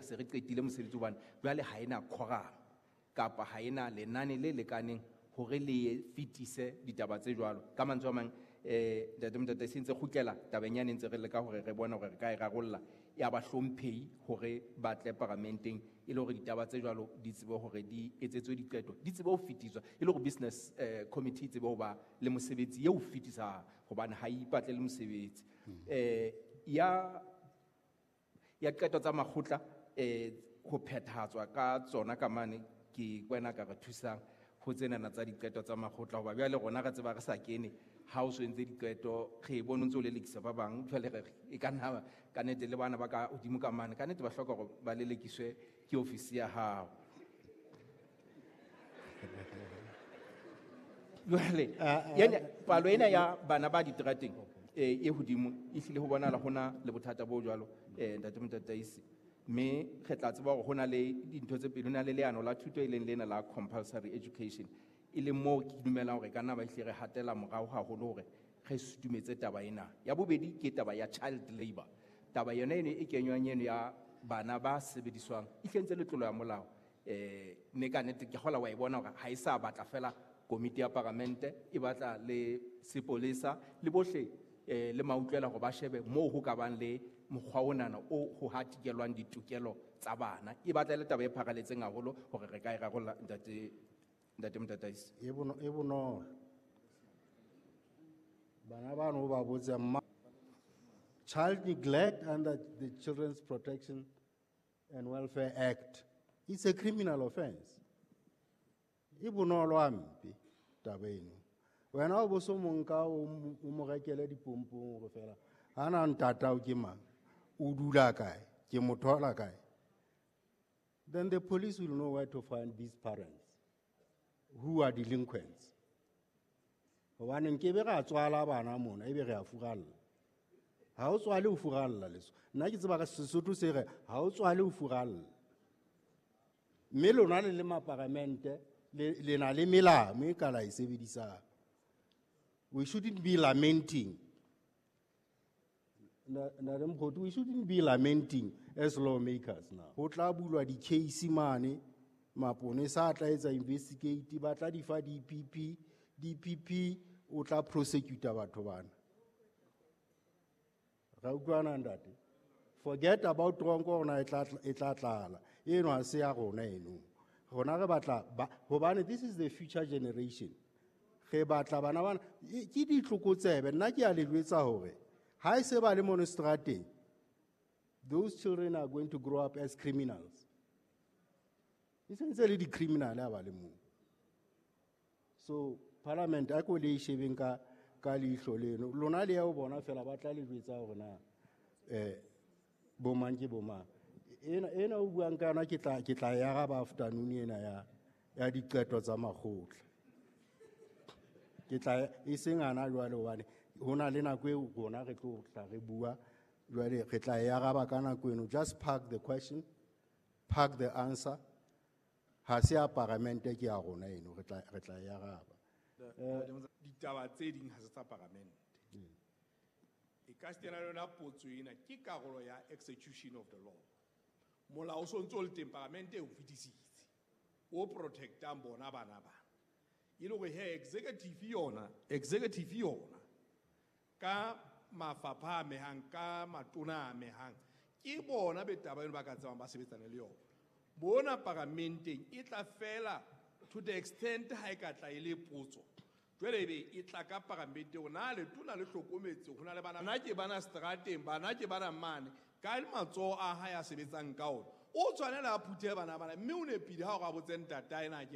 se re qetile mosebetsi hobane jwale ha ena quorum kapa ha ena lenane le lekaneng hore le fetise ditaba tse jwalo. Ka mantswe a mang, ntate Motataisi, ntse kgutlela tabeng yane ntse re leka hore re bone hore re ka e rarolla ya bahlomphehi hore ba tle paramenteng e le hore ditaba tse jwalo di tsebe hore di etsetswe diqeto, di tsebe ho fetiswa, e le hore business committee e tsebe ho ba le mosebetsi eo fetisang hobane ha e ipatle le mosebetsi. Ya qeto tsa makgotla, ho phethahatswa ka tsona ka mane ke wena ka re thusang ho tsenana tsa diqeto tsa makgotla, hoba jwale rona re tseba re sa kene ha o so entse diqeto, re e bone o ntso o lelekisa ba bang. Jwale re re, e ka nna ka nnete le bana ba ka hodimo ka mane, ka nnete ba hloka hore ba lelekiswe ke ofisi ya hao. Jwale, palo ena ya bana ba diterateng, e hodimo, e hlile ho bonahala hona le bothata bo jwalo, ntate Motataisi. Mme re tla tseba hore hona le dintho tse pedi, hona le leano la thuto e leng lena la compulsory education, e leng moo ke dumelang hore ka nna ba hlile re hatela morao haholo hore re sutumetse taba ena. Ya bobedi ke taba ya child labor. Taba yona eno e kenywang eno ya bana ba sebediswang e hlentse le tlolo ya molao. Mme ka nnete ke kgola wa e bona hore ha e sa batla fela komiti ya paramente, e batla le sepolesa le bohle, le mautlwela hore ba shebe moo ho ka bang le mokgwa onana o ho hatikelwang ditokelo tsa bana. E batla le taba e pharaletseng haholo hore re ka e rarolla, ntate Motataisi. E e bonolo. Bana bano ba botsa mma. Child neglect under the Children's Protection and Welfare Act, it's a criminal offense. E bonolo hampe taba eno. Wena o bo so monka o mo rekele dipompong hore fela ha na ntatao ke mang, o dula kae, ke mo thola kae. Then the police will know where to find these parents who are delinquents. Hobane nkebe ra tswala bana mona ebe re a furalla. Ha o tswale o furalla leso. Nna ke tseba ka Sesotho se re ha o tswale o furalla. Mme lona le le maparamente le na le melao e ka la e sebedisang. We shouldn't be lamenting. Ntate Mokgothu, we shouldn't be lamenting as lawmakers now. Ho tla bulwa di-case mane, maponesa a tla etsa investigate, ba tla di fa DPP, DPP o tla prosecute batho bana. Ra utlwana ntate? Forget about tronko rona e tla tlala. Eno ha se ya rona eno. Rona re batla ba, hobane this is the future generation. Re batla bana bana, ke ditlokotsebe. Nna ke a le jwetsa hore ha e se ba le mono strateng, those children are going to grow up as criminals. E sentse le di-criminal ha ba le moo. So parliament a ko le e shebeng ka leihlo leno. Lona le ya ho bona fela ba tla le jwetsa hore na, bo mang ke bo mang. Ena o buang ka yona ke tla e araba afternoon ena ya diqeto tsa makgotla. Ke tla e seng hana jwale hobane ho na le nako eo rona re tlo tla re bua jwale re tla e araba ka nako eno. Just park the question, park the answer. Ha se ya paramente ke ya rona eno, re tla e araba. Ditaba tse ding ha se tsa paramente. E ka se tena le yona potso ena ke karolo ya execution of the law. Molao o so ntso o le teng, paramente e o fetisitse, o protectang bona bana ba. E le hore he, executive yona, ka mafapha a amehang, ka matona a amehang, ke bona be taba eno ba ka tsebang ba sebetsane le yona. Bona paramenteng e tla fela to the extent ha e ka tla e le potso. Jwale ebe e tla ka paramenteng hore na letona le hlokometse ho na le bana, bana ke bana strateng, bana ke bana mane, ka matsoho a hae a sebetsang ka ona. O tshwanela a phuthe bana bana, mme o nepile ha o re a botse ntatae na ke